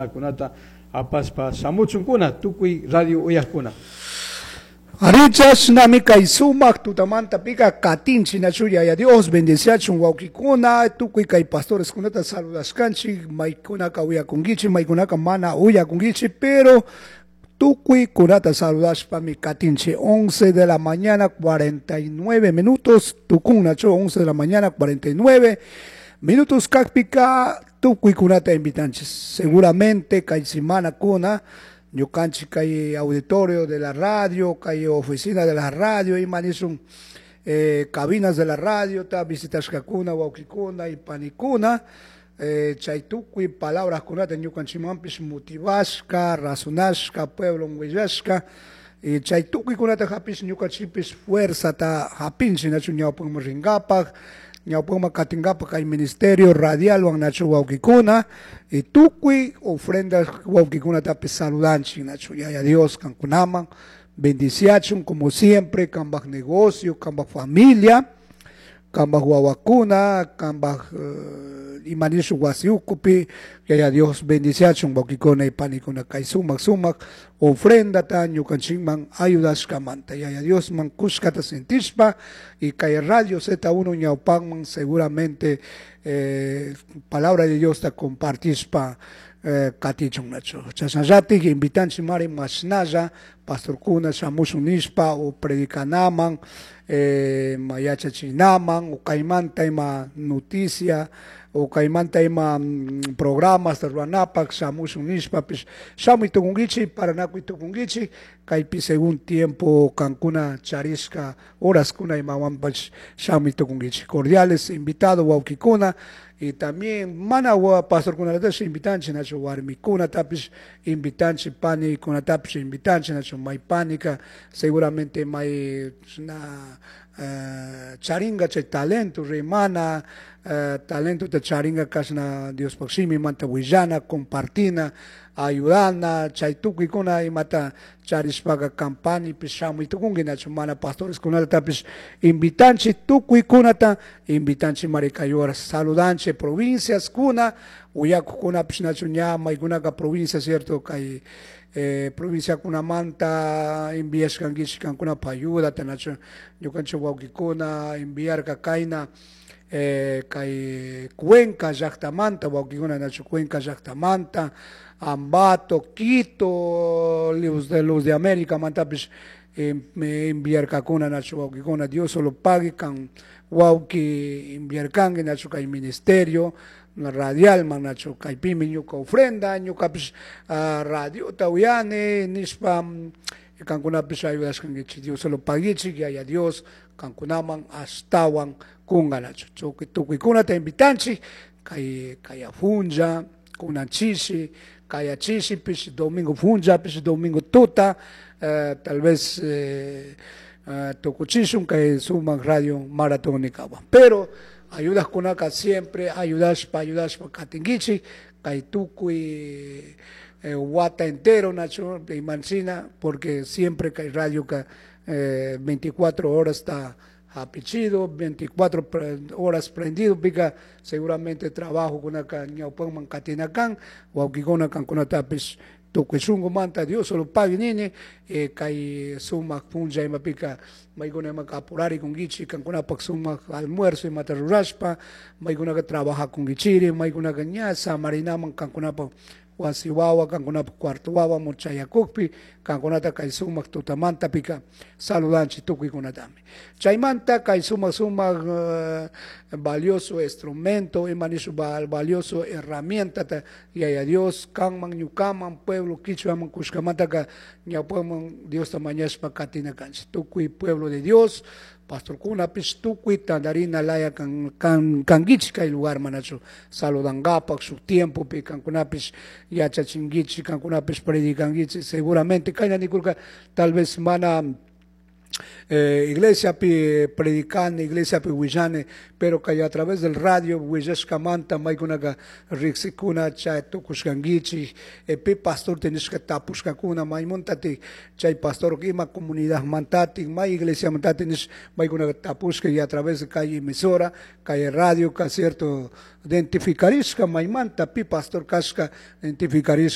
Kunata apashpa shamuchunkuna tukuy radio uyajkuna. Arí, chashnami kay sumak tutamantapika katinchik nachu Yaya Dios bendeciachun wawkikuna, tukuy kay pastoreskunata saludashkanchik, maykunaka uyakunkichik, maykunaka mana uyakunkichik, pero tukuy kunata saludashpami katinchik. 11 de la mañana 49 minutos, tukun nachu 11 de la mañana 49 minutos kakpika tukuy kunata invitanchik. Seguramente kay semana kuna ñukanchik kay auditorio de la radio, kay oficina de la radio, ima nishun cabinas de la radio, ta visitashkakuna, wawkikuna y panikuna, chay tukuy palabras kunata ñukanchikmanpish motivashka, razonashka, pueblo willashka, y chay tukuykunata hapish ñukanchikpish fuerzata hapinchik nachu ñawpakman rinkapak, ñawpakman katinkapak kay ministerio radialwan nachu wawkikuna, y tukuy ofrendas wawkikunatapish saludanchik nachu Yaya Dios kankunaman bendiciachun como siempre, kambaj negocio, kambaj familia, kambaj wawakuna, kambaj ima nishu wasi ukupi, Yaya Dios bendiciachun wawkikuna y panikuna kay sumak sumak ofrendata ñukanchikman ayudashkamanta Yaya Diosman kushkata sentishpa y kay radio Z1 ñawpakman seguramente palabra de Diosta compartishpa katichun nachu. Chashnallatik invitanchik mari mashnalla pastorkuna shamushun nishpa o predicanaman, ma yachachinaman o kaymanta ima noticia o kaymanta ima programas ruwanapak shamushun nishpapish shamuy tukunkichik, paranakuy tukunkichik, kaypi según tiempo kankuna charishka horaskuna imawanpash shamuy tukunkichik. Cordiales invitado wawkikuna y también mana pastorkunatash invitanchik nachu warmikunatapish invitanchik, panikunatapish invitanchik nachu may panika seguramente may na charinga chay talento rimana, talentota charinga kashna Diospaj shimimanta willana, compartina, ayudana, chay tukuykuna imata charishpaka kampanipish shamuy tukunki nachu mana pastoreskunatapish invitanchik, tukuykunata invitanchik mari kay horas saludanchik provinciaskuna uyakuqkunapish nachu ña maykunaka provincia cierto kay provinciakunamanta enviashkankichik kankunapaj ayudata nachu ñukanchik wawkikuna enviarka kayna kay Cuenca llaktamanta wawkikuna nachu Cuenca llaktamanta, Ambato, Quito, Luz de América mantapish enviarkakuna nachu wawkikuna Dios solo pague kan wawki enviarkanki nachu kay ministerio radialman nachu kaypimi ñuka ofrenda ñukapish radiota uyani nishpa kankunapish ayudashkankichik Dios solo paguichik Yaya Dios kankunaman ashtawan kunga nachu tukuykunata invitanchik kay kaya funcha kunan chishi kaya chishipish domingo funchapish domingo tuta tal vez tukuchishun kay sumak radio maratónikawan pero ayudajkunaka siempre ayudashpa ayudashpa katinkichik kay tukuy wata entero nachu imanchina porque siempre kay radioka 24 horas está hapichido, 24 horas prendido, pika seguramente trabajo kunaka ñawpakman katinakan, wawkikuna kankunatapish tukuy shunkumanta Dios solo pague nini, kay sumak punlla imapika maykuna imaka apurarikunkichik kankunapak sumak almuerzo imata rurashpa, maykunaka trabajakunkichiri, maykunaka ña samarinaman kankunapak wasi wawa kankunapak cuarto wawa chayakukpi kankunata kay sumak tutamanta pika saludanchik tukuykunatami. Chaymanta kay sumak sumak valioso instrumento ima nishu valioso herramientata Yaya Dios kanman ñukaman pueblo kichwaman kushkamantaka ñawpaman Diosta mañashpa katina kanchik tukuy pueblo de Dios pastorkunapish tukuy tandarina laya kankichik kay lugar manachu saludankapak shuk tiempopi kankunapish yachachinkichik kankunapish predicankichik seguramente kayna nikurka tal vez mana Iglesiapi predicani, iglesiapi willani, pero kay a través del radio willashkamanta maykunaka riqsikuna chay tukushkankichik, pi pastor nishka tapushkakuna maymuntatik chay pastor ima comunidadmantatik, may iglesiamantatik nish maykunaka tapushka y a través de kay emisora, kay radio ka cierto identificarishka maymanta pi pastor kashka identificarishka.